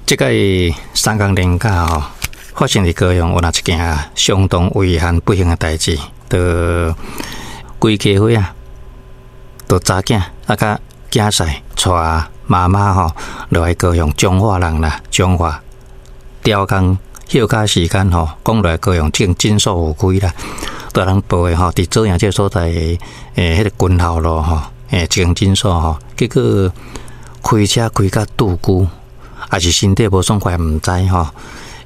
這個三工連假吼，發生佇高雄有若一件相當遺憾不幸的代誌，就規家伙仔，就查囝啊佮囝婿帶媽媽吼落來高雄彰化人啦，彰化調工歇假時間吼，講落來高雄這間診所有開啦，就人報的吼，佇左營這個所在彼個軍校路吼，一間診所吼，結果開車開甲拄久，抑是身體無爽快，毋知吼。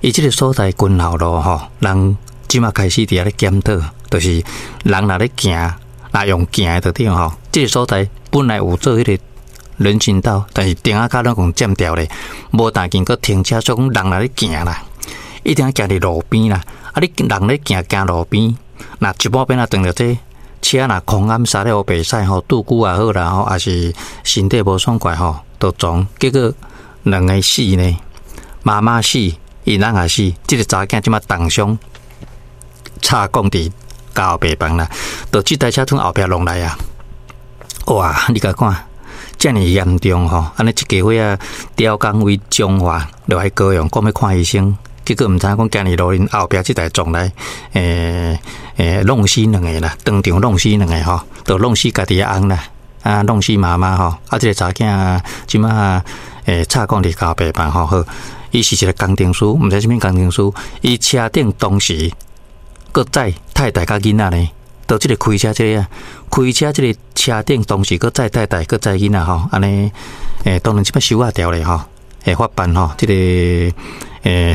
伊這個所在軍校路吼，人這馬開始佇遐咧檢討，就是人若咧行，若用行的就對吼。這個所在本來有做彼個人行道，但是燈仔跤攏共佔掉咧，無當見閣停車，所以講人若咧行啦，一定愛行佇路邊啦。啊，你人咧行行路邊，若一半邊仔撞著這車若空暗剎了烏白駛吼，拄久也好啦吼，抑是身體無爽快吼，就撞，結果兩个死呢，媽媽死，𪜶翁也死，這個查囝這馬重傷，插管佇加護病房啦，就這台車從後壁弄來啊！哇，你共看，遮爾嚴重吼，按呢一家伙仔調工位彰化落來高雄，講欲看醫生，結果毋知影講行佇路面後壁這台撞來，弄死兩个啦，當場弄死兩个吼，就弄死家己的翁啦，啊，弄死媽媽吼，啊，這個查囝這馬插管佇加護病房吼，好，伊是一個工程師，毋知啥物工程師，伊車頂當時閣載太太佮囡仔呢，就這個開車這個啊，開車這個車頂當時閣載太太閣載囡仔吼，按呢，當然這擺收押掉咧吼，會法辦吼，這個細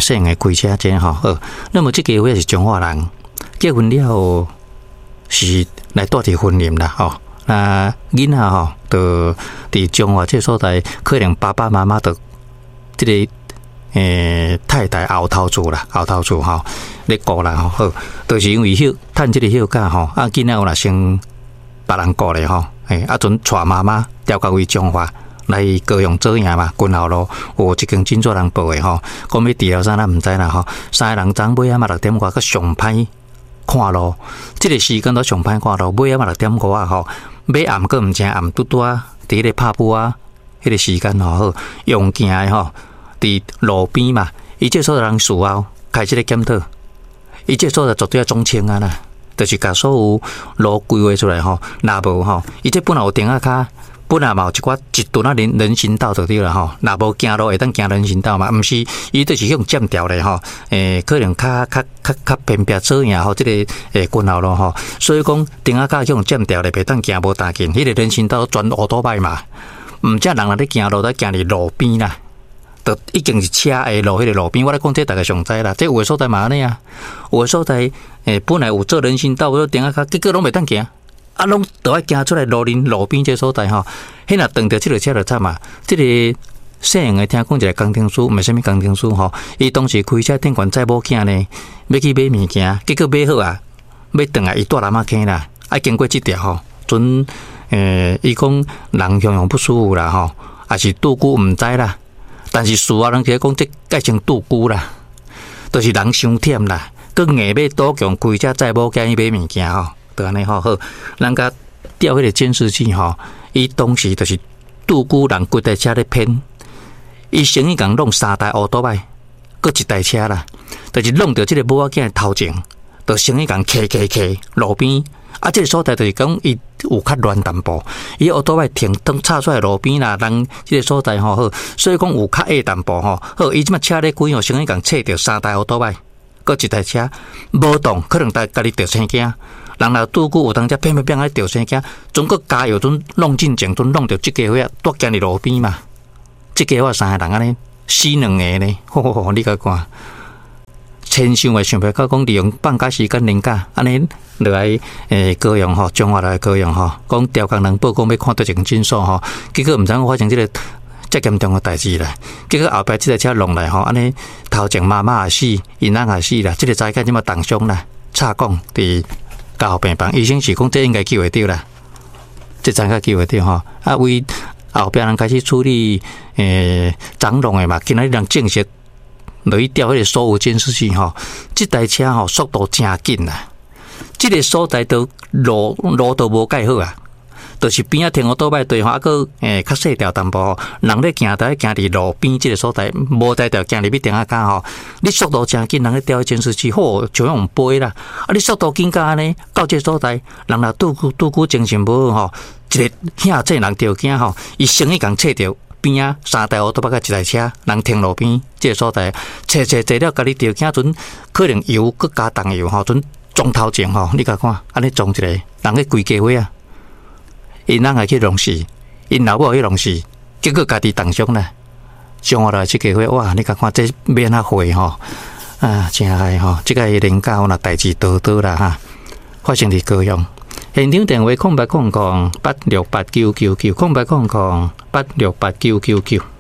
漢的開車這吼，好，那麼這家伙是彰化人，結婚了後是來住佇雲林啦吼，那囡仔吼，就佇彰化這個所在，可能爸爸媽媽就這個太太後頭厝啦，後頭厝吼咧顧啦吼，好，就是因為休趁這個休假吼，啊囡仔有若先別人顧咧吼，啊陣帶媽媽調到位彰化來高雄左營嘛，軍校路有一間診所人報的吼，講欲治療啥咱毋知啦吼，三个人昨尾仔嘛6點外閣上歹看路，這個時間都上歹看路，尾仔嘛6點外吼，欲暗閣毋正暗，拄拄仔佇彼個拍晡仔彼個時間吼，好用行的吼。佇路邊嘛，伊這所在人事後開始咧檢討，伊這所在絕對愛總清啊啦，就是共所有路規劃出來吼，若無吼，伊這本來有燈仔跤，本來嘛有一寡一段仔人行道就對啦吼，若無行路會當行人行道嘛，毋是，伊就是予佔掉咧吼，可能較較較較偏僻左營吼，這個軍校路吼，所以講燈仔跤予佔掉咧，袂當行無當緊，彼個人行道全烏多擺嘛，毋才人若咧行路，得行佇路邊啦。就已經是車的路，彼個路邊，我咧講這大家上知啦。這有的所在嘛按呢啊，有的所在本來有做人行道，有燈仔跤，結果攏袂當行，啊，攏都愛行出來路面路邊這所在吼。彼若撞著這個車就慘啊！這個細漢的聽講一個工程師，毋是啥物工程師吼，伊當時開車頂懸載某囝呢，欲去買物件，結果買好啊，欲轉來伊蹛南仔坑啦，啊經過這條吼，陣伊講人雄雄不舒服啦吼，抑是拄久毋知啦。但是事後人直講，這改成拄久啦，就是人傷忝啦，閣硬欲賭強開車載某囝去買物件吼，就按呢吼好，人共調彼個監視器吼，伊當時就是拄久人規台車咧偏，伊先去共弄三台烏多擺，閣一台車啦，就是弄著這個某仔囝的頭前，就先去共磕磕磕路邊。啊，這個所在就是講伊有較亂淡薄，伊烏多擺停，當插出來路邊啦，人這個所在吼好，所以講有較矮淡薄吼好，伊這馬車咧開吼，先去共切著三台烏多擺，閣一台車無動，可能家己著生驚，人若拄久有當才偏偏偏愛著生驚，總閣加油陣弄進前，陣弄著這家伙仔蹛行佇路邊嘛，這家伙三個人按呢死兩个呢，吼吼吼，你共看。千想也想袂到，講利用放假時間連假，按呢落來高雄吼，彰化來高雄吼，講調工人報講欲看佗一間診所吼，結果毋知影發生這個遮嚴重的代誌啦。結果後壁這台車弄來吼，按呢頭前媽媽也死，𪜶翁也死啦，這個查囝這馬重傷啦，插管佇加護病房，醫生是講這應該救會著啦，這查囝救會著吼，啊為後壁人開始處理張弄的嘛，今仔日人證實。落去調彼個所有監視器吼，這台車吼速度誠緊啦，這個所在都路路都無蓋好啊，就是邊仔停歐多擺對吼，啊閣較細條淡薄，人咧行台行佇路邊這个所在，無才調行入去埕仔跤吼。你速度誠緊，人咧調監視器，好像用飛啦。啊，你速度緊甲按呢，到這个所在，人若拄拄久精神無好吼，一个嚇這人著驚吼，伊先去共切著邊仔三台烏托邦佮一台車，人停路邊這个所在，切切坐了，家己著驚陣可能油閣加重油吼，陣撞頭前吼，你共看，按呢撞一个，人去規家伙啊！𪜶翁會去弄死，𪜶老母去弄死，結果家己重傷啦。上下來這家伙，哇！你共看這欲按怎回吼？啊，真害吼！這個連假有若代誌多多啦哈，發生佇高雄。現場電話0800868999，0800868999。